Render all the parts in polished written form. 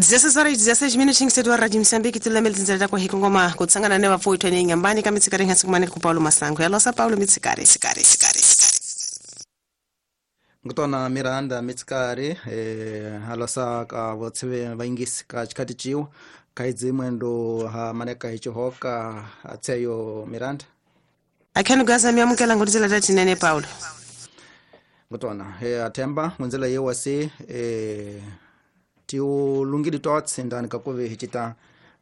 16 horas e 16 minutinhos do Rádio Moçambique, tulamele tinzela kwa hikongoma kutsangana ne vapfuitwa ni nyambani ka mitsikari ngasikumane ku Paulo Masango. Yalosa Paulo mitsikari sikari sikari sikari. Ngutona Miranda mitsikari halosa ka votseve vaingisi ka chikati chiwa kaidzi mwendo ha maneka hichihoka atseyo Miranda. Akhenu gaza miamukela ngutizela tatinene Paulo. Ngutona athemba ngunzela yewasi tiulungili totse ndani kakuve hichita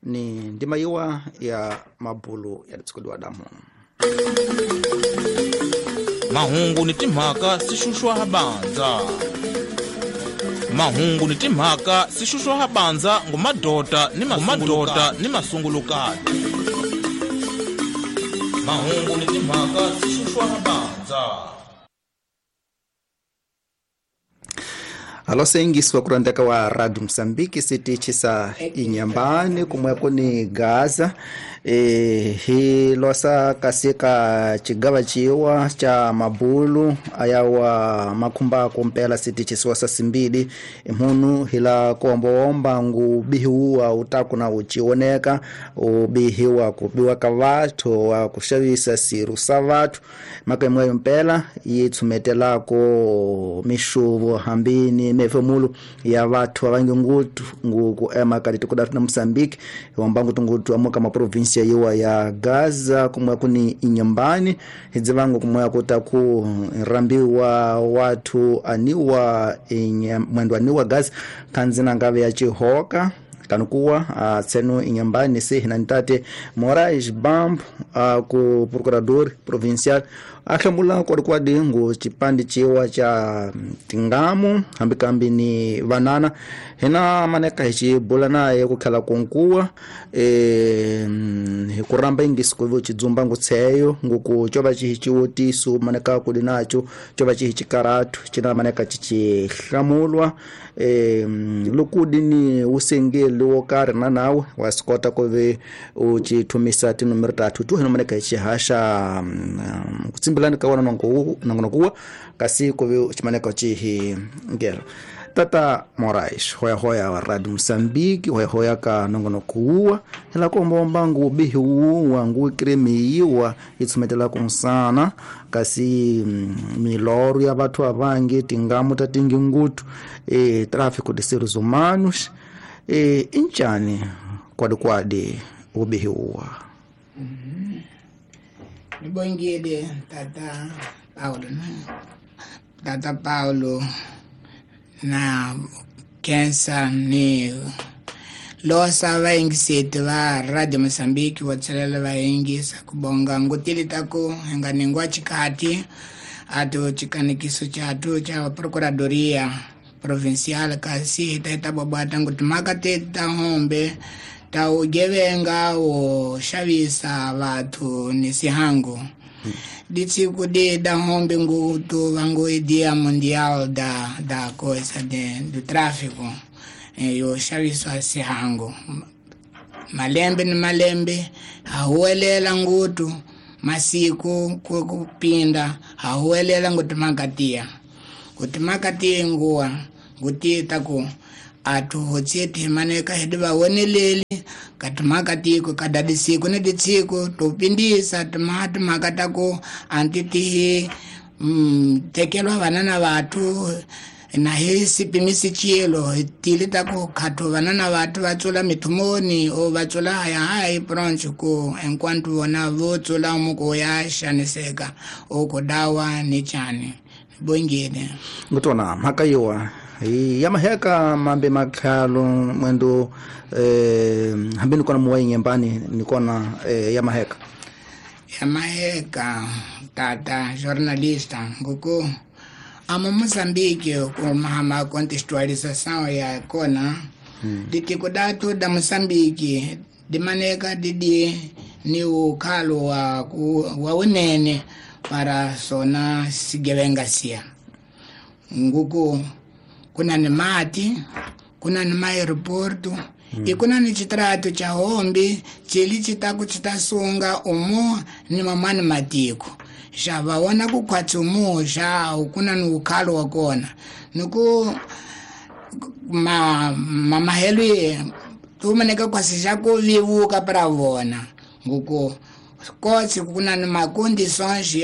ni ndima yiwa ya mabulu ya tsukudiwa damu. Mahungu ni timhaka sixuxwa habanza. Mahungu ni timhaka sixuxwa habanza ngumadota ni mamadota ni masungulukati. Mahungu ni timhaka sixuxwa habanza. Alo sengiswa kurandeka wa Radio Mozambique sitichi sa Inhambane kumweko ni Gaza hi losa kasika chigava chiwa cha mabulu ayawa makumba kumpela sitichi siwasa simbili imhunu hila kuombaomba ngu bihiwa utaku na uchioneka ubihiwa kubiwa kavatu wa kushavisa siru savatu maka mpela yitsumetelako mishuvo hambini mefemulu ya watu avangi ngutu nguku ema kati tukudatu na Mozambique wambangu tungutu amuka ma provincia yiwa ya Gaza kumwe kuni Inhambane hidzivangu kumwe kutaku rambiwa watu aniwa mwendo aniwa Gaza kanzina ngave ya chihoka kanukuwa tseno Inhambane se hinantate Moraes Bambo ku procurador provincial ahlamula kwadi ngu chipandi chiwa cha tingamu hambikambi ni vanana hina maneka hichibula naye kukhala kunkuwa hikuramba ingisi kuvo chidzumba ngutseyo nguku chova chihichiwotisu maneka kuli nacho chova chihichikaratu china maneka chichihlamulwa lukudi ni usengeli wokari na nawe wasikota kuve uchithumisa tinumero tatu tu hina maneka hichihasha kutsimbilani kawana nongonokuwa kasi kuve chimaneka chihi ngelo. Tata Moraes hoya hoya wa Radio Mozambique hoya hoya ka nongonokuwa hila komba ngu bihiwa ngu kremiwa itsumetela kunsana kasi miloro ya bathu avangi tingamu tatingi ngutu tráfico de seres humanos inchani kwadi kwadi ubihiwa. Nibongile Tata Paulo Tata Paulo na kensa ni losa vaingiseti va Radio Mozambique votselela vaingisa kubonga ngutili taku enganingwa chikati atu chikanikiso chatu cha procuradoria provincial kasi taita babata nguti makati ta hombe ta ugevenga wo xavisa vathu ni sihangu. Ditsiku de da hombe ngutu vangu dia mundial da coisa de do tráfico yo xavisa sihangu malembe ni malembe hahuwelela ngutu masiku kupinda hahuwelela ngutu makatia kuti makatia nguwa nguti taku atu hotseti maneka hediva woneleli katimakatiko kadadisiku ni ditsiko topindisa timakatako antitihi tekelwa vanana vathu na hi sipimisi chilo tili tako khathu vanana vathu va tsula mithumoni o va tsula haya hayi bronch ku enquanto vona vo tsula muko ya xaniseka o ku dawa ni chani bongile ngutona mhaka yiwa ya maheka mambe makhalo mwendo hambi nikona muwa Inhambane nikona ya maheka ya maheka tata jornalista nguku amo Mozambique kumahama contextualização ya kona ditiko datu da Mozambique dimaneka didi ni ukhalo wa unene para sona sigevenga sia nguku kuna ni mati kuna ni maeroporto e kuna ni chitrato cha hombe chili chitaku chitasunga umo ni mamani matiko xa va vona ku khwatsi umo xa kuna ni ukhalo wa kona niku ma mamahelo tumaneka kwasi ku vivuka para vona nguku kotsi kuna ni macondições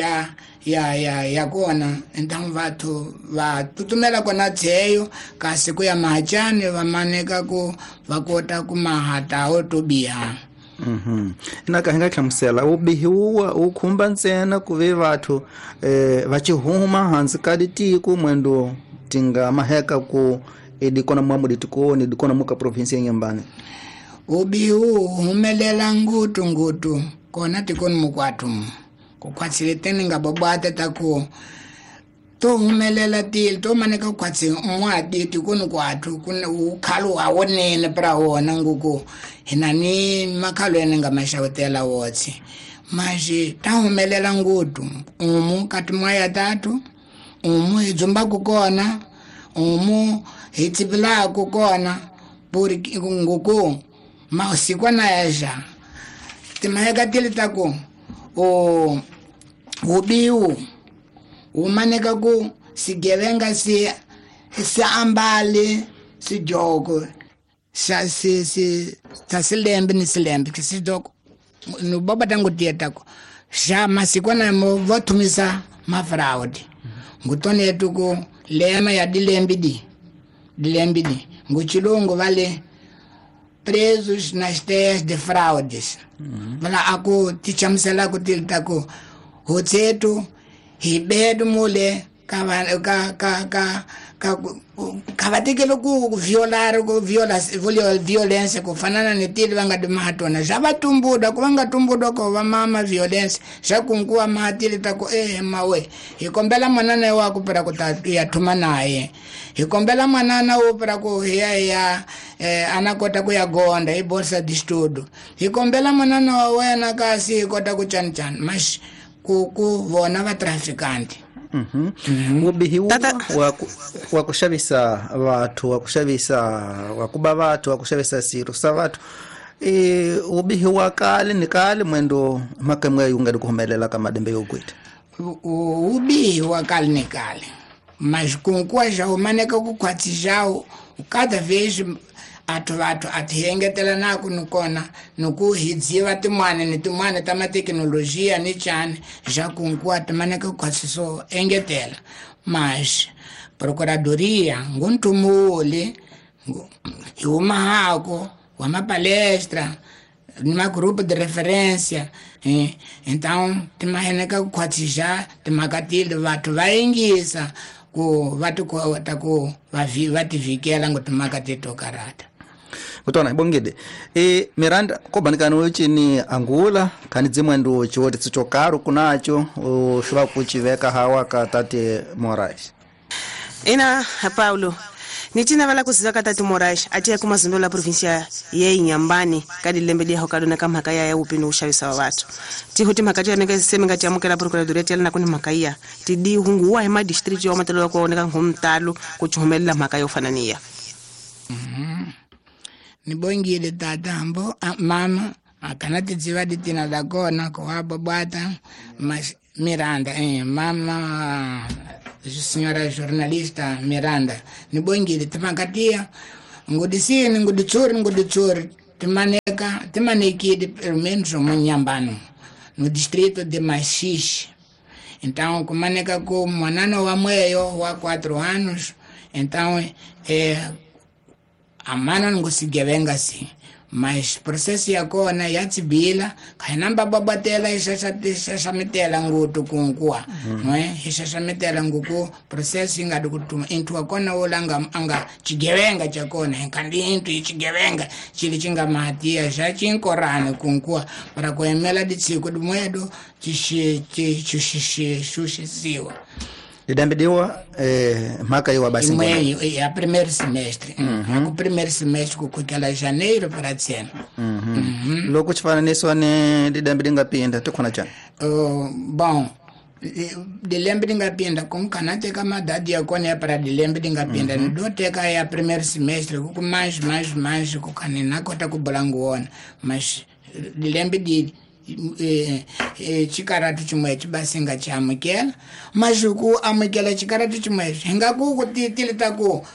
ya kona então vathu va tutumela kona tseyo kasi ku ya mahachani va maneka ku va kota ku mahatawo to biha. Inaka hi nga hlamusela vubihi wu khumba ntsena ku ve vathu va chihuma hansi ka ditiko mwendo tinga maheka ku edikona mwamu ditikoni dikona muka provinsi ya Nyambani. Ubihi wu humelela ngutu ngutu kona tikoni mukwatu kukhwatsile teni nga bobwata taku to humelela tili to maneka kukhwatsi mwadi tikoni kwathu kuna ukhalo awonene pra wona nguku hina ni makhalo ene nga maxawutela wotsi maxi ta humelela ngutu umu kati mwaya tatu umu hi dzumbaku kona umu hi tsipilaku kona puri nguku mausikwana yaxa timaheka tili taku o ubiu umaneka ku sigevenga si ambale sijoko sa si si ta silembe ni silembe sijoko no baba tangu tietako xa masikwana mo vothumisa mafraud ngutone tuku lema ya dilembi di nguchilungu vale presos nas terras de fraudes. Vala aku tichamusela ku tilitako hotsetu hibedu mule ka ka vatekele ku violar ku viola violence ku fanana ni tili va nga dimahatona xa va tumbuda ku va nga tumbuda ko va mama violence xa kunkuwa mahatili ta ku mawe hi kombela manana wa ku pera ku ta ya thuma naye hi kombela manana wo pera ku ya ana kota ku ya gonda hi bolsa de estudo hi kombela manana wa wena kasi hi kota ku chani chani mas ku vona va traficante. Ubihi wa kuxavisa vathu wa kuxavisa wa kuba vathu wa kuxavisa siro sa vathu ubihi wa kale ni kale mwendo makamwe yunga di kuhumelela ka madembe yokwita ubihi wa kale ni kale mas kunkuwa já umaneka ku khwatsi jao cada vez athu vathu athiengetela naku nikona niku hi dziva tin'wana ni tin'wana ta mathekinolojiya ni chani xa kunkuwa timaneka ku so engetela mas procuradoria ngunthumuli hi humahako wa mapalestra ni magrupo de referência então timaheneka ku khwatsi xa timhaka tili vathu va yingisa ku va tikota ku va tivikela ngo timhaka teto karata. Kutona ibongede Miranda kobanikani uchini Angula khani dzimwendo chiwoti tsichokaro kunacho ushuva kuchiveka hawa ka tate Moraes. Ina Paulo nitina vala kuziva ka tate Moraes atiya kumazimbo la provincia ye Inhambane kadi lembe dia hokadona ka mhaka ya upi no ushavisa wa vathu tihuti mhaka tiyaneka seme ngati amukela procuradoria tiala na kuni mhaka iya tidi hunguwa hi madistrict yo matelo ko oneka ngumtalo kuchumelela mhaka yo fananiya. Nibongile tata mbo mama akana tidziva ditina da kona ko bwata mas Miranda mama senhora jornalista Miranda nibongile timakatia ngudisini nguditsuri timaneka timanekile pelo menos munyambano no distrito de Maxixe. Então kumaneka ku mwanana wa mweyo wa 4 anos então amana ngusigevenga si mas processo ya kona ya tsibila khainamba babatela isasamitela ngutu kunkuwa no isasamitela nguku processo inga dukutuma intu akona wolanga anga chigevenga chakona kandi intu ichigevenga chili chinga mahatia xa chinkorane kunkuwa para kuemela ditsiko dimwedo xixixixixisiwa lidambidiwa mhaka yiwa basi imweyo ya primeiro semestre. Ku primeiro semestre ku kukela janeiro para tsena. Loko chifananiso ni lidambi lingapinda tikhona chani? Bom dilembe lingapinda kumkhana teka madadi ya kona ya para dilembe lingapinda ni do teka ya primeiro semestre ku mais ku khani na kota ku bula nguwona mas dilembe di chikaratu chimwe chibasinga chiamukela mas ku amukela chikaratu chimwe hinga ku ku tilita ku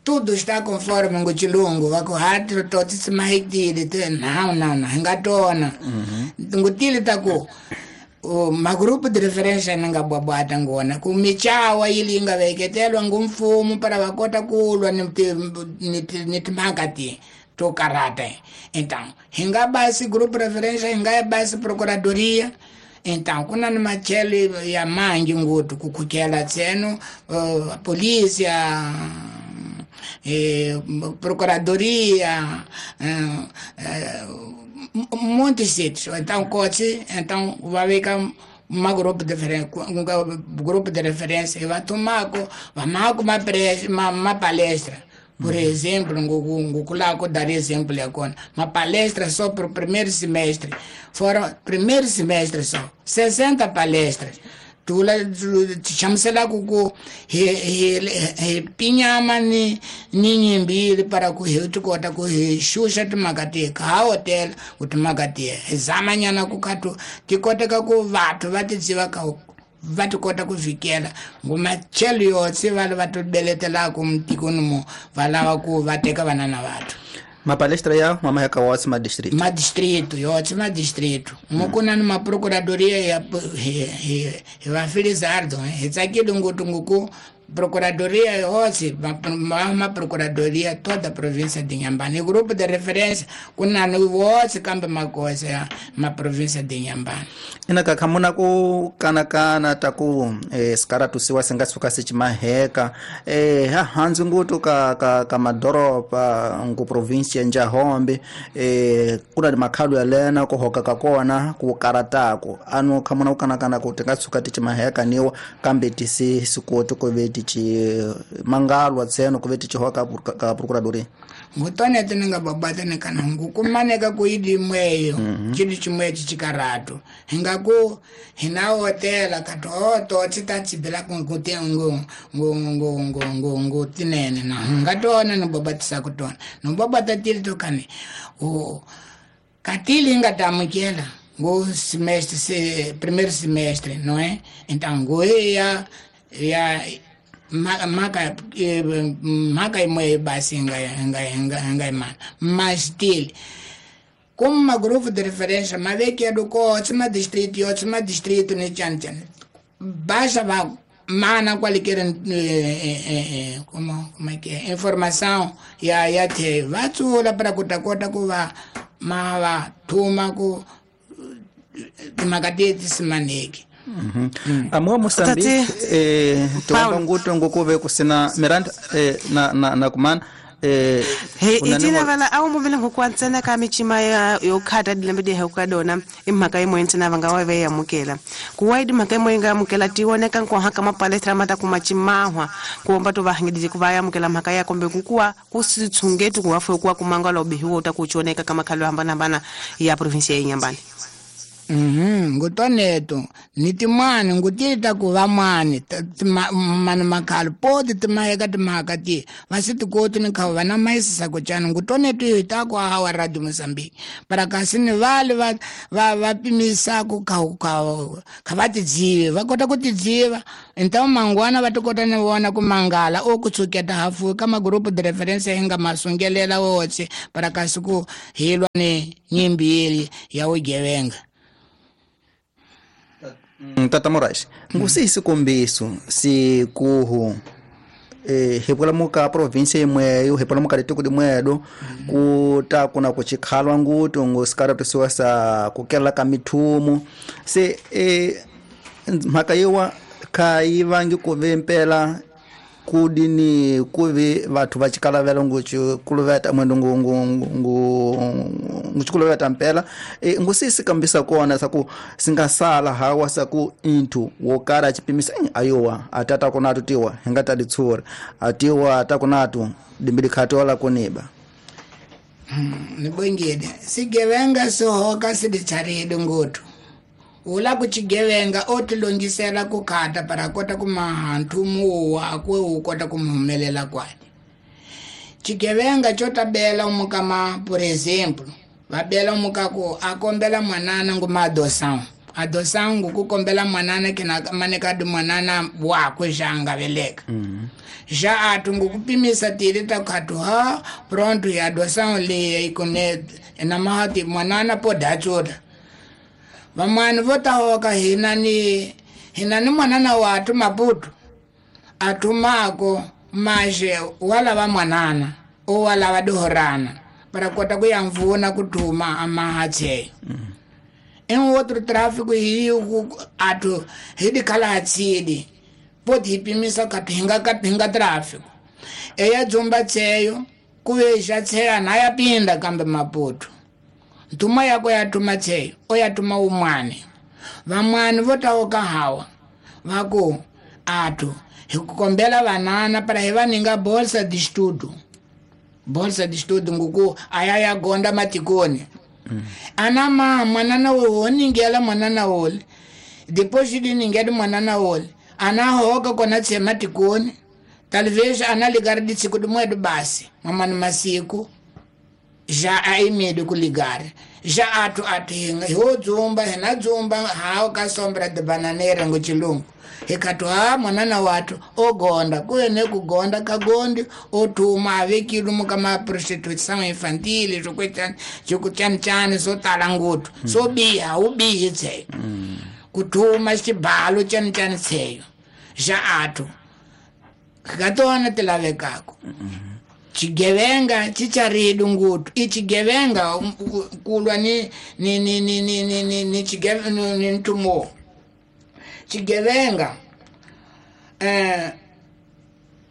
Tudo está conforme ngo chilungu va ku hati to tisimahitile te não não não hi nga tona ngutile ta ku magrupu de referência ni nga bwabwata ngona ku michawa yili yi nga veketelwa ngumfumo para va kota ku lwa ni timhaka ti to karata. Então hi nga basi grupo referência, hi nga basi procuradoria. Então kuna ni machelo ya mangi ngutu kukhukela tseno polícia, procuradoria, muitos sítios. Então coche, então vai ficar um grupo de referência, um grupo de referência e vai tomar uma palestra. Por exemplo, ngukula dar exemplo agora, uma palestra só para o primeiro semestre. Foram primeiro semestre só, 60 palestras. Tula chamusela ku hi pinyama ni nyimbili para ku hi tikota ku hi xuxa timhaka ti ka hotel ku timhaka ti hi zamanyana ku khatu ti koteka ku vathu va ti dziva ka va ti kota ku fikela ngumachelo yotse va va ti beletelaka mutikoni mo va lava ku va teka vana na vathu. Mapalestra ya mama ya kawatsi ma distrito. Ma distrito, yotse ma distrito. Mukuna ni ma procuradoria ya hi va Felizardo, hi tsakile ngopfu nguku procuradoria yotse ma procuradoria toda a província de Inhambane. Grupo de referência kuna ni wotse kambe makosa ya ma província de Inhambane. Ina ka khamuna ku kanakana ta ku sikaratusiwa singa suka sichimaheka ha hanzi ngutu ka madoropa ngu província ya Njahombe kuna ni makhalo ya lena ku hoka ka kona ku karatako anu khamuna ku kanakana ku tinga suka tichimaheka niwa kambe tisi sikoti ku ve tichi mangalwa tseno ku ve tichi hoka ka procuradoria. Ngutone tinga babata ne kana ngukumaneka ku idi mweyo chidi chimwe chikaratu hingaku hina hotela katoto chitachibela ku ngo ngo ngo ngo ngo ngo tinene na ngatona no babatisa kutona no babata tili tokane o katili ngatamukela ngo semestre se primeiro semestre, não é? Então ngo ya maka imwe basi nga imana mas til como uma grupo de referência mas vê que é do coach ma distrito e outro ma distrito ne chan chan baixa va mana qualquer como é que é informação ya te va tsula para kutakota ku va ma va thuma ku timakateti simaneki. Amua Moçambique tuomba nguto ngukuve kusina Miranda na kumana he itina vala awu muvile ngukwantsena ka michima ya yokhata dilembe di hekadona imhaka imwe ntsena vanga wa ve yamukela kuwaidi mhaka imwe nga yamukela tioneka nkohaka mapalestra mata kumachimahwa kuomba to vahangidije ku va yamukela mhaka ya kombe kukuwa kusitshungetu kuwafu kuwa kumangala ubihiwo utakuchoneka kama khalo hambana ya provinsia ya Inhambane. Ngutoneto ni timani ngutita ku va mani mani makhalo poti timaheka timhaka ti va si tikoti ni kha va na maisisa ku cana ngutoneto hi ta ku hawa Radio Mozambique para kasi ni vale va pimisa ku kha va tidzive va kota ku tidziva então mangwana va tikota ni vona ku mangala o ku tsuketa hafu ka magrupu de referência hi nga masungelela wotse para kasi ku hilwa ni nyimbili ya ugevenga. Tata Moraes, ngusisi sikombiso sikuhu hipolamuka província imweyo hipolamuka litiko limwedo kuta kuna kuchikhalwa ngutu ngusikaratusiwa sa kukela ka mithumu se mhaka yiwa khayivangi kuve mpela kudini kuve vathu va chikalavela nguchikuluveta mwendo nguchikuluveta mpela ngusisi kambisa kona saku singasala hawa saku inthu wokara chipimisa ayowa atata kunatu tiwa hingata ditsura atiwa atakunatu dimbili khatola kuniba nibongile sigevenga sohoka sidicharidi nguthu ula kuchigevenga otilongisela kukhata para kota kumaha nthumu wakwe ukota kumuhumelela kwani chigevenga chotabela umukama por exemplo vabela umukaku akombela mwanana nguma adoção Adoção ku kombela mwanana kina maneka di mwanana wakwe janga veleka. Já atu ngukupimisa tili takatu ha pronto ya adoção le ikone na mahati mwanana poda choda. Vamwana votahoka hinani mwanana watu Maputo. Atumako maje wala va mwanana o wala va dohorana para kota kuyamvuna kutuma amahatse. Em outro tráfico hiyo atu hidi kala hatsidi poti hipimisa katinga katinga tráfico eya dzumba tseyo kuveja tseya naya pinda kambe Maputo ntuma yako yatuma tseyo oyatuma umwane vamwane votaoka hawa vako atu hikukombela vanana para hivaninga bolsa de estudo nguku ayaya gonda matikoni. Anama mwanana wo ningela mwanana wole depois de ningela mwanana wole ana hoka kona tsema tikoni talvez ana ligar de tsiku de moedo basi mamani masiku já aimedo ku ligar já atu atinga ho dzumba hena dzumba hao ka sombra de bananeira ngo chilungu hekatu ha mwanana watu ogonda kuene kugonda kagondi otuma avekilu kama prostituição infantil jokuchan so talangutu so biha ubihi tseyo kutuma xibalo chan tseyo já atu katona tilavekako chigevenga chicharidu ngutu ichigevenga kulwa ni ni ni ni ni ni ni ni chigevenga ni ntumo chigevenga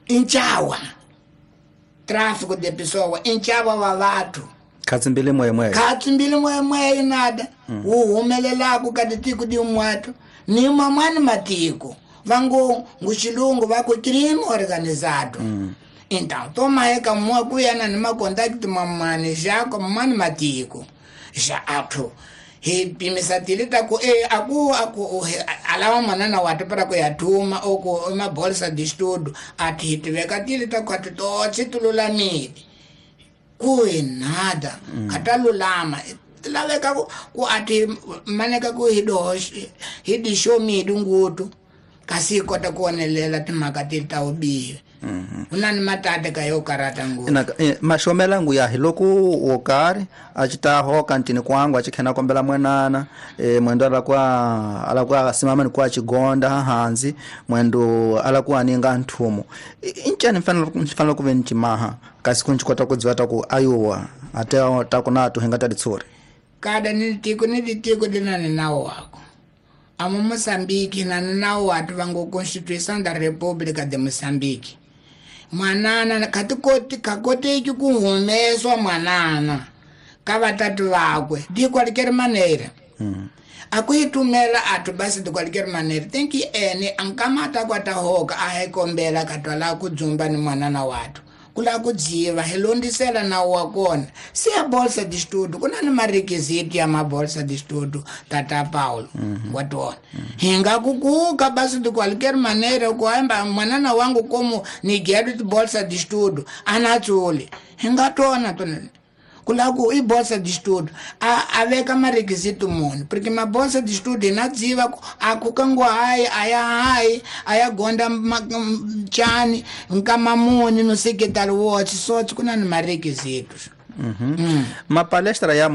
inchawa tráfico de pessoa inchawa wa watu katsimbile moya nada uhumelelaku katitiku di umwatu ni mamani matiko vangu nguchilungu vako crime organizado. Então toma eka mwa kuyana ni makontakti mamani jako mamani matiko ja atu hipimisa tilita ku aku aku alawa mwanana watu para kuyatuma oko mabolsa de estudo ati hitiveka tilita kwatu totsi tululamile kuyi nada katalulama tilaveka ku ati maneka ku hidishomidu ngutu kasi kota kuonelela timhaka tilita ubihi. Unani matata ka yo karata ngutu mashomela ngu ya hiloko wokari achita hoka ntini kwangu achikhena kombela mwenana mwendo alakwa alakwa simama ni kwa chigonda hanzi mwendo alakwa aninga nthumo inchani mfanelo kuve nchimaha kasi kunchikota kudziwata ku ayuwa ate takunatu hingata ditsuri kada ni tiko ni tiko dinani nawo wako amo Moçambique na nawo watu vangu Constituição da República de Moçambique mwanana katikoti kakoteki kuhumeswa mwanana ka vatatu vakwe de qualquer maneira. Akuitumela atu basi de qualquer maneira tem que ene ankamata kwatahoka ahekombela katwala kudzumba ni mwanana watu kula kudziva hilondisela na wakona se a bolsa de estudo kuna ni marequisito ya mabolsa de estudo tata Paulo watona hinga kukuka basi de qualquer maneira kuamba mwanana wangu como ni gedo bolsa de estudo anatsuli hinga tona tona kula ku i bolsa de estudo a veka marequisito muni porque ma bolsa de estudo inadziva akukangwa hayi aya hayi aya gonda chani nkamamuni no secretary watch so kuna ni marequisitos. Ma palestra ya